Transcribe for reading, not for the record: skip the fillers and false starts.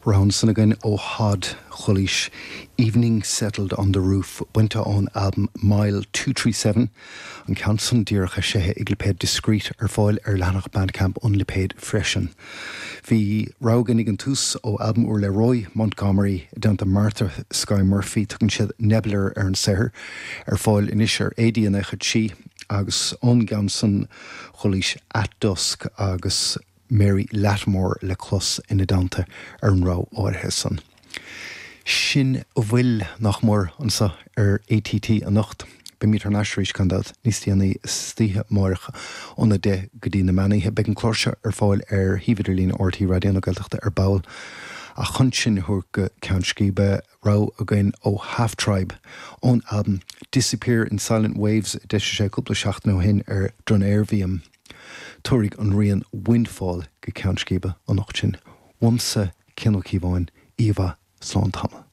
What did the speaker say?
Rogha ansan againn ó Hod Chulaois, Evening Settled on the Roof, bainte ón albam Mile 237, an ceann san díreach eisithe ag lipéad Discreet, ar fáil ar leathanach Bandcamp an lipéid freisin. Bhí rogha againn ag an tús ó albam úr le Roy Montgomery i dteannta Martha Skye Murphy, tugann siad Nebular ar an saothar, ar fáil anois ar AD93 agus ón gceann san Chulaois At Dusk agus Mary Lattimore le clos ina dteannta ar an rogha áirithe san. Sin a bhfuil, nach mór, anseo ar ATT anocht. Beimid thar n-ais arís, gan dabht, níos déanaí istoíche amáireach óna 10 go dtí na meánoíche. Beidh an clár seo ar fáil ar shuíomh idirlín RTÉ Raidió na Gaeltachta ar ball. Ach chun sinn a thabhairt go ceann scríbe, rogha againn ó Half Tribe ón albam Disappear in Silent Waves a d'eisigh sé cúpla seachtain ó shin ar Drunervium. Tabharfaidh an rian Windfall go ceann scríbe anocht sinn. Uaimse, Cian Ó Cíobháin, oíche mhaith, slán tamall.